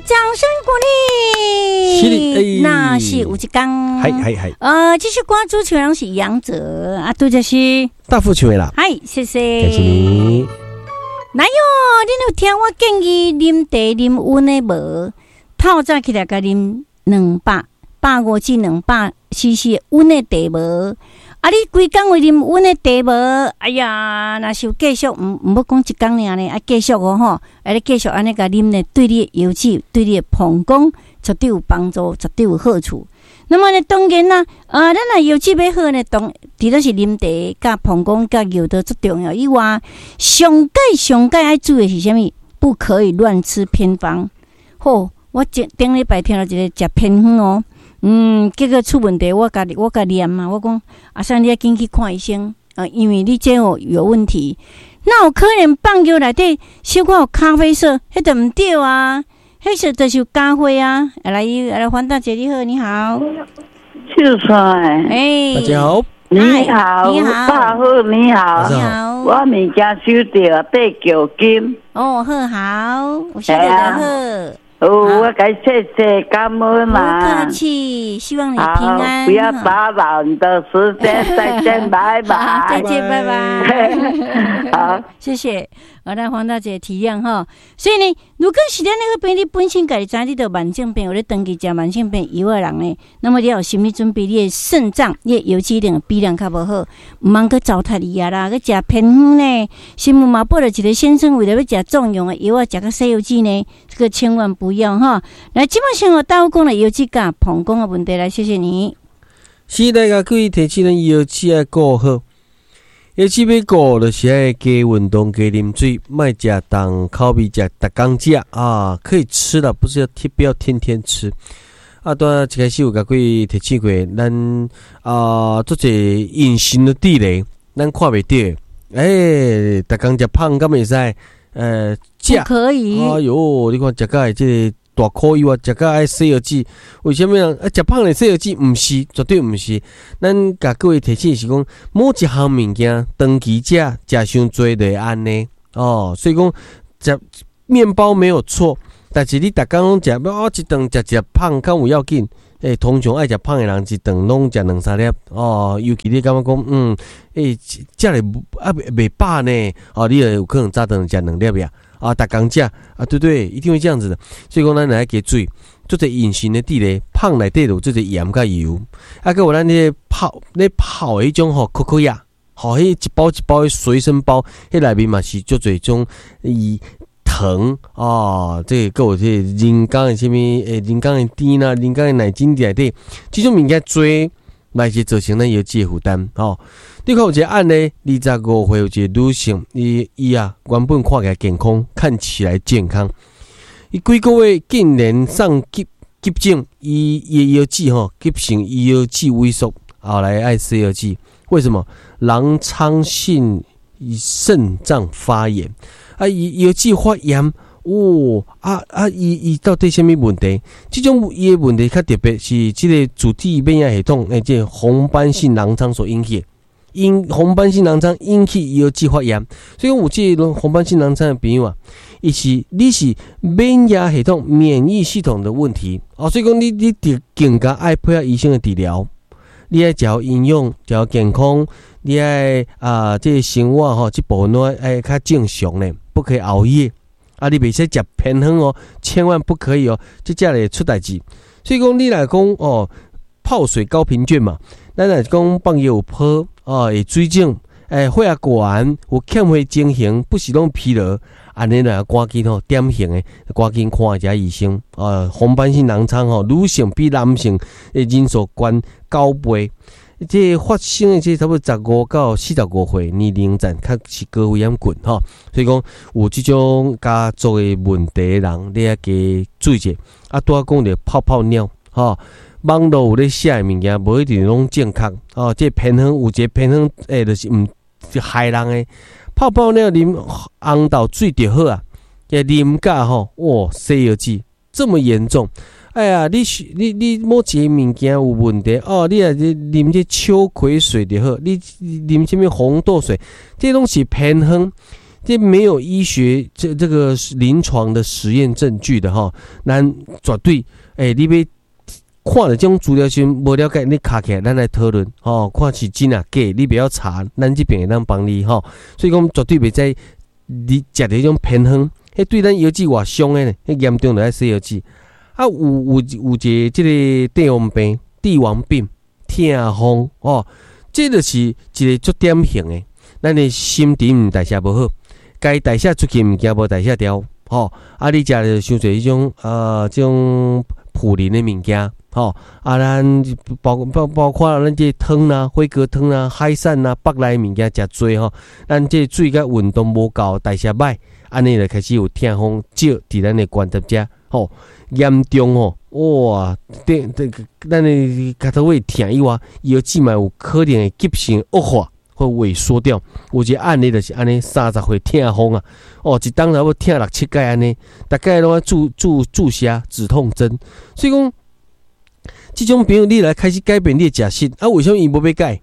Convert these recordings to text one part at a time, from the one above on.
掌聲鼓勵。是的，欸。若是有一工，係係係。這首歌主唱人是楊哲啊，拄則是大富唱的啦。嗨，謝謝。感謝你。來喲，恁有聽我建議啉茶啉溫的無？透早起來共啉250至200 CC 溫的茶無？啊，你規工會啉溫的茶無？哎呀，若是有繼續，毋欲講一工爾呢，啊，繼續哦吼，啊，你繼續按呢共啉呢，對你的腰子、對你的膀胱絕對有幫助，絕對有好處。那麼呢，當然啦，啊，咱若腰子欲好呢，當除了是啉茶、佮膀胱、佮尿道足重要以外，上蓋上蓋愛注意的是啥物？不可以亂吃偏方。好，我頂頂禮拜聽著一個食偏方哦。結果出問題，我共念嘛，我講阿三，你愛緊去看醫生啊，因為你這哦有問題。哪有可能放藥內底小可有咖啡色？彼就毋對啊，彼色就是有咖啡啊。來，來，黃大姐你好，你好。秀才。欸。大家好。你好，你好，大富你好，你好。我物件收著八橋金。哦，好好，有收著就好。哦，我該謝謝感恩啦。不客氣，希望你平安。不要打擾你的時間，再見，拜拜。再見，拜拜。好，謝謝。我來黃大姐體諒哈。所以呢，如果是咱那個病，你本身家己知你著慢性病，有咧長期食慢性病藥的人呢，那麼你要有心理準備，你的腎臟、你的腰子一定比人較無好，毋通閣糟蹋伊啊啦，閣食偏方呢。新聞嘛報著一個先生為著欲食壯陽的藥啊，食甲洗腰子呢，這個千萬不要哈。來，這擺先予大富講的腰子佮膀胱的問題來，謝謝你。是來共各位提醒咱腰子愛顧好。腰子欲顧，就是愛加運動、加啉水，莫食重口味，食逐工食啊，可以吃啦，不是要天不要天天吃。啊，拄仔一開始有共各位提醒過，咱啊做者隱形的地雷，咱看袂著。欸，逐工食胖敢會使？食不可以。哎喲，你看食甲會這個大箍油啊，食甲愛洗腰子，為啥物啊？啊，食胖會洗腰子？毋是，絕對毋是。咱共各位提醒是講，某一項物件長期食，食傷濟就會按呢。哦，所以講食麵包沒有錯，但是你逐工攏食，我一頓食一粒胖敢有要緊？欸，通常愛食胖的人一頓攏食兩三粒哦，尤其你感覺講，欸，食咧啊袂飽呢，哦，你就有可能早頓食兩粒呀。啊，逐工食啊，對對，一定會這樣子的。所以講，咱來加注意，做者隱形的地雷，胖內底有做者鹽佮油，啊，閣有咱彼個泡咧泡的彼種吼，可可亞，吼，彼一包一包的隨身包，彼內面嘛是足濟種伊糖哦，這個閣有這個人工的啥物，欸，人工的甜啦，人工的奶精佇內底，這種物件濟，來是造成咱腰子的負擔吼。你看有一個案例，25歲有一個女性，伊啊原本看起來健康，看起來健康，伊幾個月竟然送急急診，伊的腰子吼急性腰子萎縮，後來愛洗腰子。為什麼？狼瘡性腎臟發炎，啊，伊腰子發炎，哦，啊啊，伊到底啥物問題？這種伊的問題較特別，是這個自體免疫系統，欸，這個紅斑性狼瘡所引起的。因紅斑性狼瘡引起腰子發炎，所以講有這個紅斑性狼瘡的朋友啊，伊是你是免疫系統、免疫系統的問題哦，所以講你得更加愛配合醫生的治療，你愛食好營養，食好健康，你愛啊，這個生活吼，這部分攏愛較正常咧，不可以熬夜啊，你袂使食偏方哦，千萬不可以哦，這才會出代誌。所以講你若講哦，泡水高頻卷嘛，咱若講放尿有泡。哦，會水腫，欸，血壓懸，有欠血情形，不是攏疲勞，按呢來趕緊吼，典型的趕緊看一下醫生。啊，紅斑性狼瘡吼，女性比男性的人數懸九倍。這個發生的這差不多15到45歲年齡層，較是高危險群吼。所以講有這種家族的問題的人，你愛加注意者。啊，拄仔講著泡泡尿，吼。網路有咧寫的物件，無一定攏正確哦。這個偏方有一個偏方，欸，就是毋害人的泡泡尿啉紅豆水就好啊。這啉甲吼，哇，洗腰子這麼嚴重！哎呀，你是你你某一個物件有問題哦，你若是啉這秋葵水就好，你啉啥物紅豆水，這攏是偏方。這沒有醫學這個臨床的實驗證據的吼，咱絕對你欲看著這種資料時無了解，你敲起來，咱來討論吼，看是真抑假，你袂曉查，咱這邊會當幫你吼。所以講絕對袂使你食著彼種偏方，彼對咱腰子偌傷的呢，彼嚴重就愛洗腰子。啊，有一个這个帝王病、帝王病、痛風哦，這就是一个足典型的，咱的新陳代謝無好，該代謝出去物件無代謝掉，吼，啊，你食著傷濟彼種這種普林的物件，吼，啊，咱包括咱這湯啦、火鍋湯啦、海產啦、腹內物件食濟吼，咱這水佮運動無夠，代謝歹，按呢就開始有痛風少佇咱的關節遮，吼，嚴重吼，哇，這這咱的跤頭尾疼以外，腰子嘛有可能會急性惡化或萎縮掉。有一個案例就是按呢，30歲痛風啊，哦，一冬差不多疼六七擺按呢，逐擺攏愛注射止痛針，所以講，這種朋友你來開始改變你的食食，啊，為啥物伊無欲改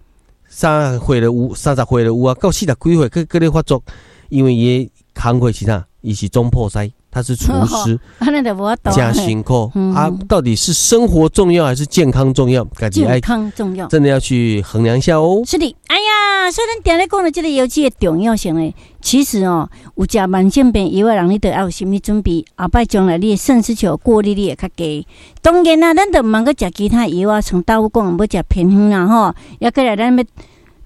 ？30歲就有，30歲就有啊，到40幾歲閣閣咧發作，因為伊的工課是啥？伊是總鋪師，他是廚師，誠辛苦啊！到底是生活重要還是健康重要？健康重要，真的要去衡量一下哦。是的，哎呀，所以咱定咧講的這個藥劑的重要性呢，其實哦，有食慢性病藥的人，你著愛有心理準備，後擺將來你的腎絲球過濾率會較低。當然啦，咱著毋通閣食其他藥啊，像豆腐講，欲食偏方啦吼，抑閣來咱欲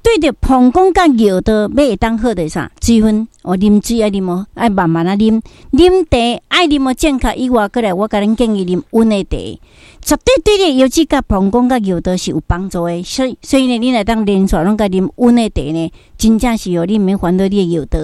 對著膀胱佮尿道欲會當好的啥水分，哦，啉水愛啉哦，愛慢慢仔啉，啉茶愛啉哦正確以外，閣來我共恁建議啉溫的茶，絕對對你腰子佮膀胱佮尿道是有幫助的。所以呢，你若當連續攏共啉溫的茶呢，真正是哦，你毋免煩惱你的尿道。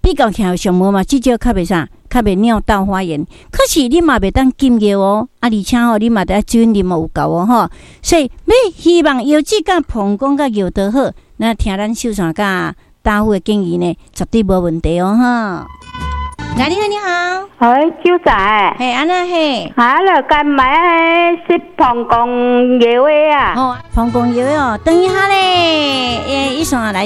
比較起來上無嘛，至少較袂啥，較袂尿道發炎。可是你嘛袂當禁尿哦，啊，而且吼，你嘛得愛水分啉有夠哦吼。所以，欲希望腰子佮膀胱佮尿道好，那聽咱秀山佮大夫的建議呢，絕對無問題哦哈。來，你好，你好。哎，秀才。嘿，按怎嘿？啊，來該買食膀胱藥的啊。哦，膀胱藥哦，等一下咧，欸，醫生來。